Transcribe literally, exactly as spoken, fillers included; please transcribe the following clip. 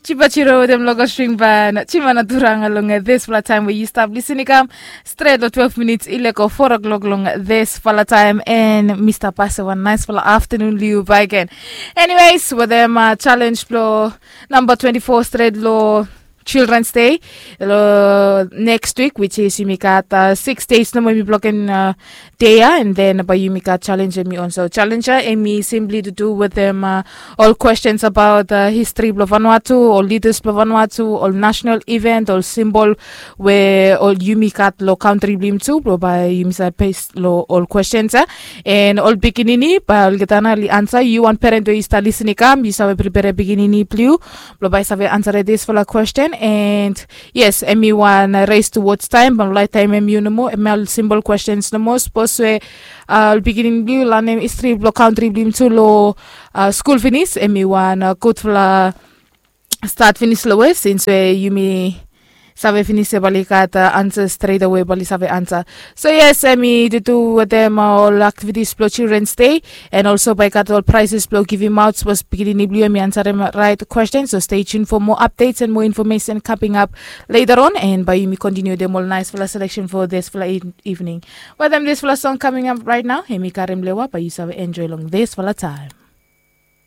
Jipachiro wetem local string ban chimana turanga long disfala taem we yu stap lisin i kam stret long twelve minits i leko four o'clock long disfala taem. En mi stap pase wan naisfala aftanun long yu baeken. Anyways, wetem challenge blong namba twenty-four stret long Children's Day long next week, which is yumi gat six days nomo yumi bloken dei ya. And then bae yumi gat challenge em i on. So challenge ya em i simply to do wetem ol questions about history blong Vanuatu, ol leaders blong Vanuatu, ol national event, ol symbol we ol yumi gat long kantri blong yumi tu blong bae yumi save pes long ol questions ya. And ol pikinini bae olgeta nao oli ansa. Yu wan peren we yu stap lisin i kam, yu save pripere pikinini blong yu blong bae i save ansarem disfala question. And yes, em i wan race towards time, bae laet taemem yu nomo, em ol simple questions nomo. Sapos we ol pikinini blong yu lanem histri blong kantri blong yumi tu long skul finis, em i wan gudfala stat finis long we sins we yumi save finis ya bae oli gat ansa stret awe, bae oli save ansa. So yes, em i dudu wetem ol aktivitis blong Children's Day. And also bae i gat ol prizes blong givimaot sapos pikinini blong yu em i ansarem raet question. So stay tuned for more updates and more information coming up later on. And bae yumi continue wetem ol naisfala selection for disfala evening. Wetem disfala song coming up right now, em i karem lewa, bae yu save enjoy long disfala taem.